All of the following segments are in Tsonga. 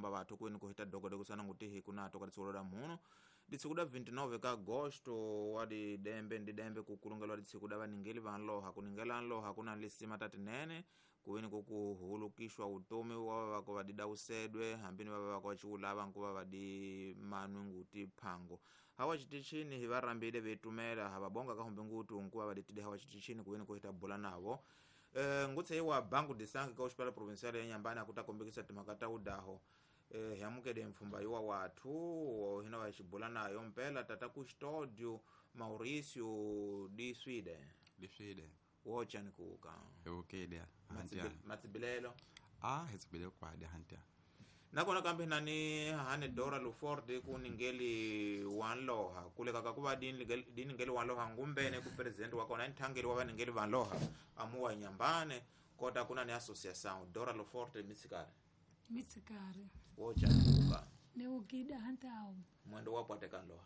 ramba vathu kwini ku hita dogoda kusana ngutihi kunato ka ditsiko da muno ditsiko da 29 ka agosto wa didembe ndidembe kukulungelwa ditsiko da vaningeli va nloha kuningela nloha kuna lisima tatinene kuwini kukuhulukishwa utomi wa vavako vadida usedwe hambini va vavako vaciulava nkuva vadi manwi nguti phango hawa citichini hivarambile vetumela havabonga kahumbi ngutu nkuva vaditide hawa citichini kuwini kuhita bula navo ngutse wa bangu disangi ka hospital provincial ya Nyambani akutakombekisa timhaka ta udaho yamukele mfumba yuwa wathu hina vachibula nayo mpela tata Custódio Mauricio di Sweden Di Sweden wochani kuka okay dia matsibilelo hetsibile kwa dia hantia nakona kambe nani hane Dora Luford kuningeli wanloha kuleka kakuva diningeli wanloha ngumbene ku president wa kona nthangeli wa vaningeli vanloha amuwa Nyambane kota kuna ni association Dora Luford mitsikari mitsikari wochani kuka ne ukida hantao mwendo wapwateka nloha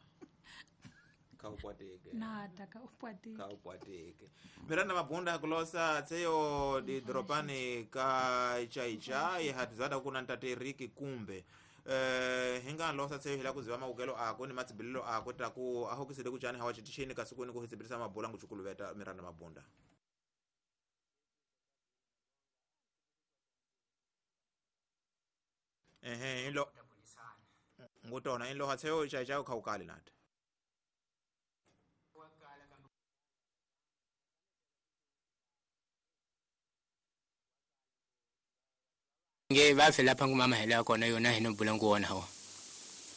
kaupwateke nata kaupwateke kaupwateke Miranda Mabunda kulosa tseyo di dropani ka chaichai hatizada kuna ntate Riki Kumbe hinga losa tseyo hila kuziva maukelo ako ni matsibilelo ako taku ahokisile kuchani hawachitishini kasukuni kuhitsibirisa mabula nguchukuluveta Miranda Mabunda ilo ngutona ilo hatseyo chaichai kaukali nata nge va fela phangu mama hela kona yona hino bula nguona ho